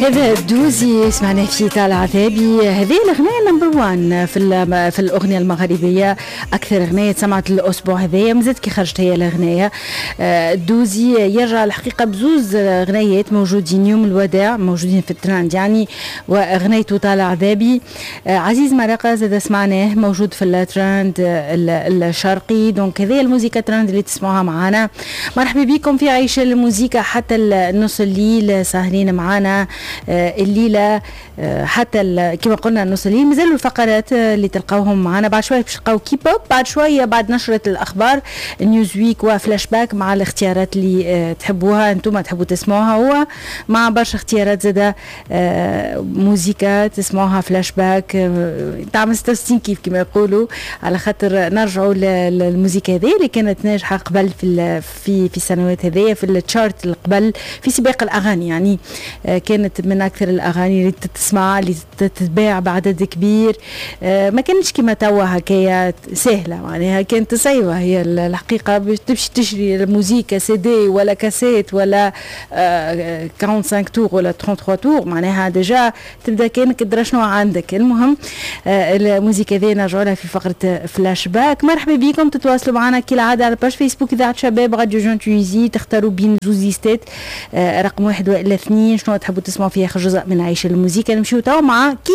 هذا الدوزي سمعنا في طال عذابي. هذه الاغنية number 1 في الاغنية المغربيه، اكثر اغنية سمعت الاسبوع هذايا، مازالت كي خرجت هي الاغنيه. الدوزي يرجع الحقيقة بزوز اغنيات موجودين يوم الوداع، موجودين في الترند يعني، واغنيته طال عذابي. عزيز مرقه زاد سمعناه موجود في الترند الشرقي. donc هذه الموسيقى ترند اللي تسمعوها معنا. مرحبا بكم في عيش الموسيقى حتى نص الليل، ساهرين معنا الليلة حتى كما قلنا نص الليل. مازالوا الفقرات اللي تلقاوهم معنا بعد شويه، باش تلقاو كيبوب بعد شويه، بعد نشره الاخبار نيوز ويك وفلاش باك مع الاختيارات اللي تحبوها انتم، تحبوا تسمعوها، هو مع برشا اختيارات زاده موزيكا تسمعوها فلاش باك تعمل 66 كيف كما يقولوا، على خاطر نرجعوا للموزيكا هذه اللي كانت ناجحة قبل في السنوات هذيا في ال chart قبل، في سباق الاغاني يعني. كانت من اكثر الاغاني اللي تسمع، اللي تتباع بعدد كبير. ما كانتش كما توا هكايا سهله، معناها كانت صعيبة هي الحقيقة باش تمشي تشري الموزيكا سي دي ولا كاسيت ولا 45 tours ولا 33 tours، معناها déjà تبدا كانك تدرى شنو عندك. المهم الموزيكا هذه نرجعوا لها في فقره فلاش باك. مرحبا بكم، تتواصلوا معنا كالعادة على page فيسبوك اذاعة شباب راديو Jeune Tunisie، تختاروا بين زوز ليستات، رقم 1 والا 2، شنو تحبوا تسمعوا في اخر جزء من عيش الموزيكا. نمشيو توا مع كيب